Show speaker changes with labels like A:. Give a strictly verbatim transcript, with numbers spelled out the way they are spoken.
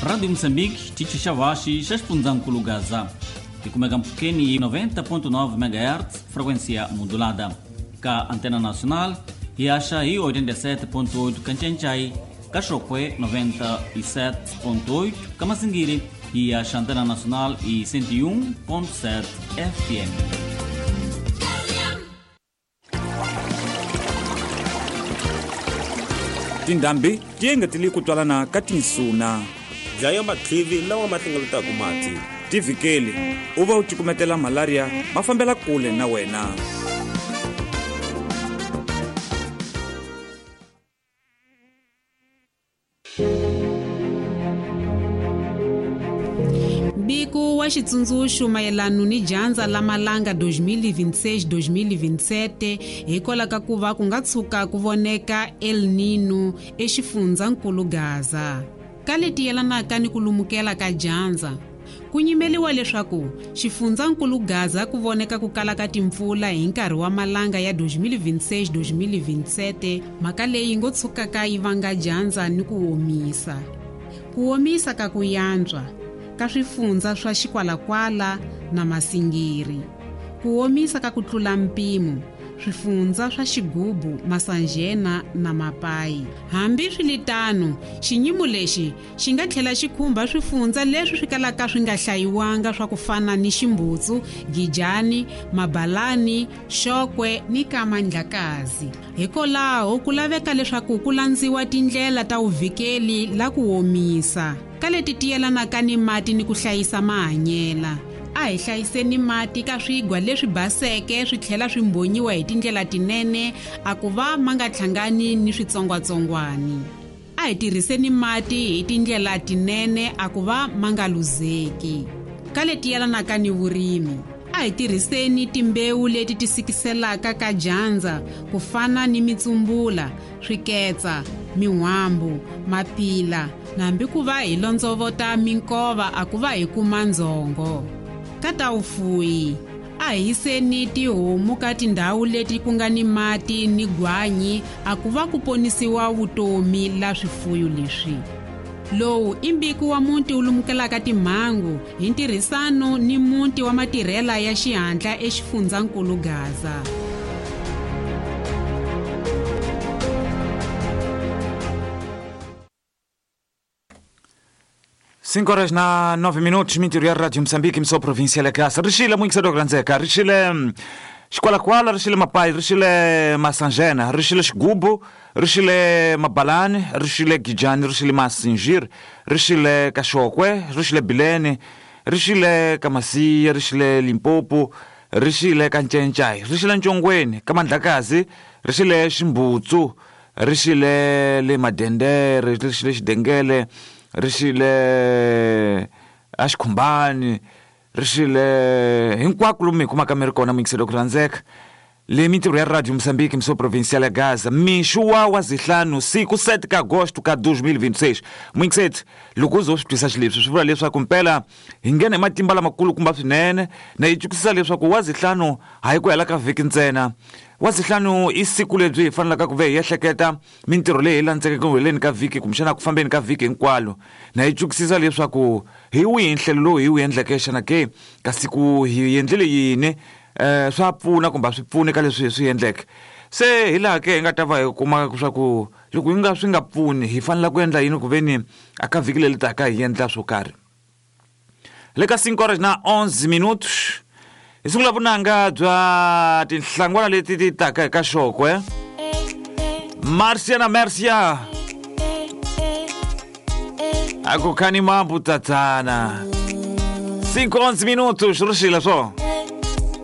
A: Rádio Moçambique, xitichi xa Vaxi, xa xifundzhankulu Gaza. Tikumeka mpfhukeni noventa ponto nove megahertz, frequência modulada. Ka Antena Nacional, hiaxa hi oitenta e sete ponto oito Kanchenchay, Kaxokwe noventa e sete ponto oito, Kamasingiri e a Antena Nacional e cento e um ponto sete F M.
B: Tindhambi ti engetele ku twalana ka tinsuna.
C: Dlaya matlivi lawa ma hlengeletaka mati.
B: Tivikeli u va u cukumetela malaria ma fambela kule na wena.
D: Mbiko wa xitsundzuxo mayelana ni dyandza la malanga dois mil e vinte e seis dois mil e vinte e sete hikwalaho ka ku va ku nga tshuka ku voneka El Nino exifundzankulu Gaza. Ka leti yelanaka ni ku lumukela ka dyandza, ku nyimeliwa leswaku xifundzankulu Gaza ku voneka ku kala ka timpfula hi nkarhi wa malanga ya dois mil e vinte e seis dois mil e vinte e sete, mhaka leyi ngo tshukaka yi vanga dyandza ni ku omisa. Ku omisa ka ku yantswa ka swifundza swa Xikwalakwala na Masingiri. Ku omisa ka ku tlula mpimo swifundza swa Xigubu, Masanjena na Mapai. Hambi swiritano, xinyimo lexi xi nga tlhela xi khumba swifundza leswi swi kalaka swi nga hlayiwanga swa ku fana ni Ximbutsu, Gijani, Mabalani, Xokwe ni Kamandlakazi. Hikwalaho ku laveka leswaku ku landziwa tindlela ta vuvikeli la ku omisa ka leti ti yelanaka ni mati ni ku hlayisa mahanyela. A hi hlayiseni mati ka swigwa leswi baseke swi tlhela swi mbonyiwa hi tindlela tinene a ku va ma nga hlangani ni switsongwatsongwani. A hi tirhiseni mati hi tindlela tinene a ku va ma nga luzeki. Ka leti yelanaka ni vurimi, a hi tirhiseni timbewu leti ti sikiselaka ka dyandza ku fana ni mitsumbula, swiketsa, min'wambu, mapila, na hambi ku va hi londzovota minkova a ku va hi kuma ndzhongo. Ka ta vufuwi, a hi yiseni tihomu ka tindhawu leti ku nga ni mati ni gwanyi a ku va ku ponisiwa vutomi la swifuyo leswi. Lowu i mbiko wa muti wu lumukelaka timhangu hi ntirhisano ni muti wa matirhela ya xihatla exifundzankulu Gaza.
B: cinco horas na nove minutos, mintirho ya Rádio Moçambique, mso província la Gaza. Rixile muingiselo grandzeka, rixile Xikwalakwala, rixile Mapai, rixile Masanjena, rixile Xigubu, rixile Mabalani, rixile Gijani, rixile Masingir, rixile Kaxokwe, rixile Bilene, rixile Kamasiya, rixile Limpopo, rixile Kanchenchay, rixile Ntshongweni, Kamandlakazi, rixile Ximbutsu, rixile le Madendere, rixile Xidengele, rixile Axikhumbani, rixile hinkwako lomu hi kumaka mi ri kona muyingiselo ku rhandzeka. Le mintirho ya Rádio Moçambique, mso provincial ya Gaza, mixo wa wa zihlanu siku sete ka agosto ka dois mil e vinte e seis. Muyingiseti, loko u zo swi twisa xileswi swi vula leswaku mpela hi nghena hi matimba lamakulukumba swinene na yi twisisa leswaku wa zihlanu hayi ku hela ka vhiki ntsena. Wa zihlanu i siku lebyi hi fanelaka ku ve hi ehleketa mintirho leyi hi landzeke ku heleni ka vhiki kumbexana ku fambeni ka vhiki hinkwalo. Na yi twisisa leswaku hi wihi nhlelo lowu hi wu endleke xana ke ka siku hi endlile yini, eh swa pfuna kumbe a swi pfuni ka leswi hi swi endleke. Se hi laha ke hi nga ta va hi kuma leswaku loko hi nga swi nga pfuni hi fanele ku endla yini ku veni a ka vhiki leri taka hi endla swo karhi. Le ka cinco horas na onze minutos hi sungula vunanga bya tinhlangwana leti ti taka eka Xokwe. Marcia na Mercia, a ku khani mambu tatana. cinco onze minutos rixile swo.